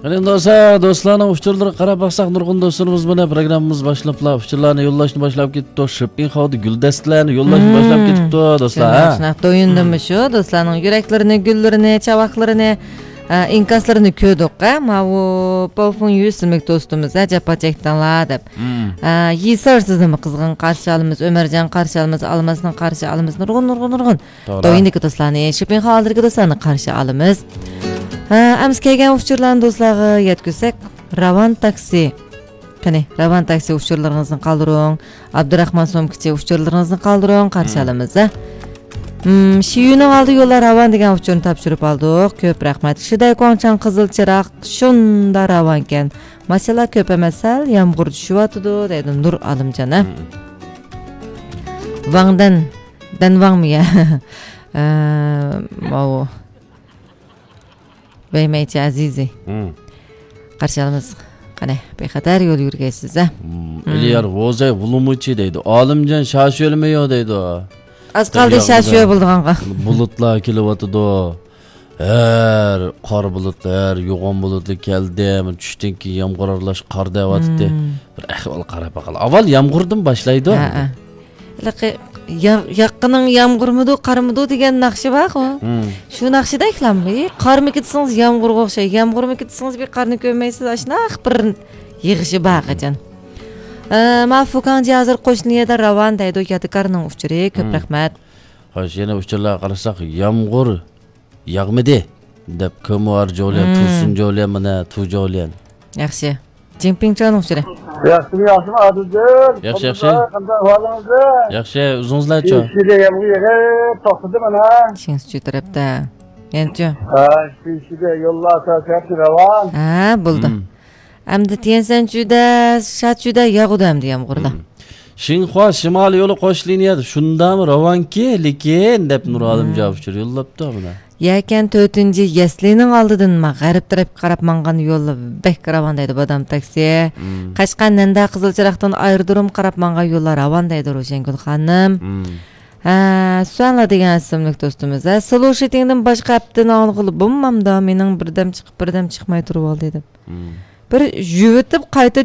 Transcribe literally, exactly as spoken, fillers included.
قېنى دوستلار، دوستلارنىڭ ئۇچۇرلىرىغا قاراپ باقساق، نۇرغۇن دوستلىرىمىز مانا پروگراممىمىز باشلاپلا ئۇچۇرلارنى يوللاشنى باشلاپ كېتىپتۇ. شىپپىڭخاۋدا گۈلدەستىلەرنى يوللاشنى باشلاپ كېتىپتۇ، دوستلار، شۇنداق، ھە؟ شۇنداق. دويۇندۇممۇ شۇ دوستلارنىڭ يۈرەكلىرىنى، گۈللىرىنى، چاۋاكلىرىنى، ئە، ئىنكاسلىرىنى كۆردۇق، ھە؟ ماۋۇ پاۋفۇڭ يۈ ئىسىملىك دوستىمىز، ھە، جاپا چەكتىڭلار دەپ. ئە، يېسىر سىزنىمۇ قىزغىن قارشى ئالىمىز، ئۆمەرجان قارشى ئالىمىز، ئالماسنى قارشى ئالىمىز، نۇرغۇن، نۇرغۇن، نۇرغۇن. توغرا. دويۇندىكى دوستلارنى، شىپپىڭخاۋدىكى دوستلارنى قارشى ئالىمىز. ھە، ئەمسە كەلگەن ئۇچۇرلارنى دوستلارغا يەتكۈزسەك، راۋان تاكسى. قېنى، راۋان تاكسى ئۇچۇرلىرىڭىزنى قالدۇرۇڭ. ئابدۇراخمان سومكىچى ئۇچۇرلىرىڭىزنى قالدۇرۇڭ، قارشى ئالىمىز، ھە. مم، شىيۈنىڭ ئالدى يوللار راۋان دېگەن ئۇچۇرنى تاپشۇرۇپ ئالدۇق. كۆپ رەھمەت. شىدەي كۇاڭچاڭ قىزىل چىراغ شۇندا راۋانكەن. ماشىنىلار كۆپ ئەمەس، سەل يامغۇر چۈشۈۋاتىدۇ، دەيدۇ نۇر ئالىمجان، ھە. ۋاڭدەن، دەنۋاڭمۇ يا؟ ئە، ماۋۇ. ۋەيمەيچى ئەزىزى. قارشى ئالىمىز. قېنى، بىخەتەر يول يۈرگەيسىز، ھە؟ ئېلىيار ۋوزەي ۋۇلۇمۇچى دەيدۇ. ئالىمجان شاشۆلمۇ يو دەيدۇ. ئاز قالدى شاشۆ بولىدىغانغا. بۇلۇتلار كېلىۋاتىدۇ. ھەر قارا بۇلۇتلار، ھەر يوغان بۇلۇتلار كەلدى. چۈشتىن كېيىن يامغۇر ئارىلاش قار دەۋاتىدۇ. بىر ئەھۋال قاراپ باقايلى. ئاۋۋال يامغۇردىن باشلايدۇ. ھە، ھە. ھېلىقى يا-، ياققىنىڭ يامغۇرمىدۇ، قارمىدۇ دېگەن ناخشا بارغۇ. شۇ ناخشىدەكلام. ئى، قارمىكى دېسىڭىز يامغۇرغا ئوخشايدۇ، يامغۇرمىكى دېسىڭىز بىر قارنى كۆرمەيسىز، ئاشۇنداق بىر يېغىشى بار قاچان. ئە، ما فۇكاڭجى ھازىر قوشنا يەردە راۋان دەيدۇ، يادىكارنىڭ ئۇچۇرى. كۆپ رەھمەت. خوش، يەنە ئۇچۇرلارغا قارىساق، يامغۇر ياغمىدى دەپ، كۆمۇۋار جوليەن، تۇرسۇن جوليەن، مانا، تۇ جوليەن. ياخشى. جىڭپىڭچانىڭ ئۇچۇرى. ياخشىمۇ، ياخشىمۇ، ئادىلجان؟ ياخشى، ياخشى. قانداق ئەھۋالىڭىز؟ ياخشى، ئۆزىڭىزلەرچۇ؟ شىنشىدە يامغۇر يېغىپ توختىدى مانا. شىڭسىچۈ تەرەپتە. يەنىچۇ؟ ھە، شىنشىدە يوللار سەل راۋان. ھە، بولدى. ئەمدى تيەنسەنچۈدە، شاچۈدە ياغىدۇ ئەمدى يامغۇردا. شىنخۇا شىمالىي يولى قوش لىنىيەدە شۇنداقمۇ راۋانكى، لېكىن، دەپ نۇرئالىم جاۋاب ئۇچۇر يوللاپتۇ مانا. يەكەن تۆتىنچى يەسلىنىڭ ئالدىدىن ما-، غەرب تەرەپكە قاراپ ماڭغان يوللار بەك راۋان دەيدۇ بادام تاكسى. قەشقەر نەندە قىزىل چىراغدىن ئايرودروم قاراپ ماڭغان يوللار راۋان دەيدۇ روشەنگۈل خانىم. ھە، سۈەنلا دېگەن ئىسىملىك دوستىمىز. ھە، سلوشىتىڭدىن باشقا ھەپتىنى ئاڭلىغىلى بولمامدا، مېنىڭ بىردەم چىقىپ، بىردەم چىقماي تۇرۇۋالدى دەپ. بىر يۇۋىتىپ قايتا